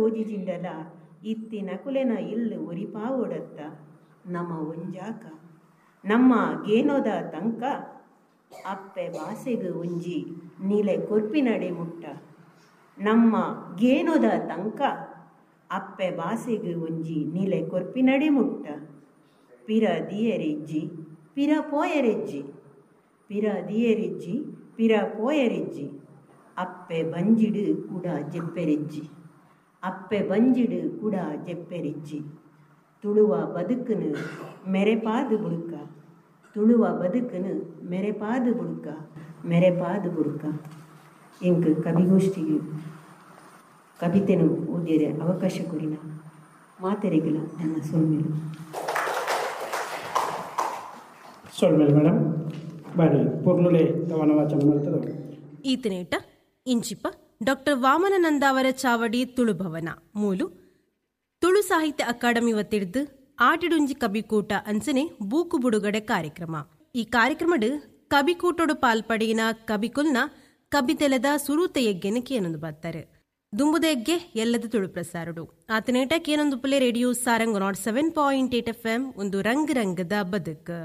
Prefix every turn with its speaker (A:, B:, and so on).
A: ತೋಜಿಜಿಂಡಲ ಇತ್ತಿನಕುಲೆನ ಇಲ್ಲ್ ಒರಿಪಾವೊಡತ್ತ ನಮ ಒಂಜಾಕ ನಮ್ಮ ಗೇನೊದ ತಂಕ ಅಪ್ಪೆ ಬಾಸೆಗ್ ಒಂಜಿ ನಿಲೆ ಕೊರ್ಪಿನಡೆ ಮುಟ್ಟ ನಮ್ಮ ಗೇನೊದ ತಂಕ ಅಪ್ಪೆ ಬಾಸೆಗ್ ಒಂಜಿ ನಿಲೆ ಕೊರ್ಪಿನಡೆ ಮುಟ್ಟ ಪಿರ ದಿಯೆರಿಜ್ಜಿ ಪಿರ ಪೋಯೆರಿಜ್ಜಿ ಪಿರ ದಿಯೆರಿಜ್ಜಿ ಪಿರ ಪೋಯೆರಿಜ್ಜಿ ಅಪ್ಪೆ ಬಂಜಿಡ್ ಕುಡ ಜೆಪ್ಪೆರಿಜ್ಜಿ ಅಪ್ಪೆ ಬಂಜಿಡ್ ಕುಡ ಜೆಪ್ಪೆರಿಜ್ಜಿ ತುಳುವ ಬದುಕುನು ಮೆರೆಪಾದ್ ಬುಡುಕ ತುಳುವ ಬದುಕುನು ಮೆರೆಪಾದ್ ಬುಡುಕ ಮೆರೆಪಾದ್ ಬುಡುಕ. ಎಂಕ್ ಕವಿಗೋಷ್ಠಿಗ್ ಕವಿತೆನು ಓದಿಯರೆ ಅವಕಾಶ ಕೊರಿನ ಮಾತೆರೆಗ್ಲ ನನ್ನ ಸೊಲ್ಮೆಲು.
B: ಸೊಲ್ಮೆಲು ಮೇಡಮ್ ಬಾರಿ ಪೊರ್ಲುಲೆ ಕವನ ವಾಚನ ಮಲ್ತದ.
C: ಈತನೇಟ ಇಂಚಿಪ ಡಾಕ್ಟರ್ ವಾಮನ ನಂದಾವರ ಚಾವಡಿ ತುಳುಭವನ ಮೂಲು ತುಳು ಸಾಹಿತ್ಯ ಅಕಾಡೆಮಿ ವತಿರ್ದ್ ಆಟಿಡುಂಜಿ ಕಬಿಕೂಟ ಅಂಚನೆ ಬೂಕು ಬುಡುಗಡೆ ಕಾರ್ಯಕ್ರಮ. ಈ ಕಾರ್ಯಕ್ರಮಡ್ ಕಬಿಕೂಟೊಡು ಪಾಲ್ಪಡೆಯಿನ ಕಬಿಕುಲ್ನ ಕಬಿತೆಲದ ಸುರೂತ ಯಜ್ಞನ ಕೇನೊಂದು ಬರ್ತಾರೆ. ದುಂಬುದ ಯಜ್ಞೆ ಎಲ್ಲದ Tulu ಪ್ರಸಾರಡು ಆತನೇಟ ಕೇನೊಂದು Phule radio Sarang 107.8 F M ಒಂದು ರಂಗ್ ರಂಗದ ಬದುಕು.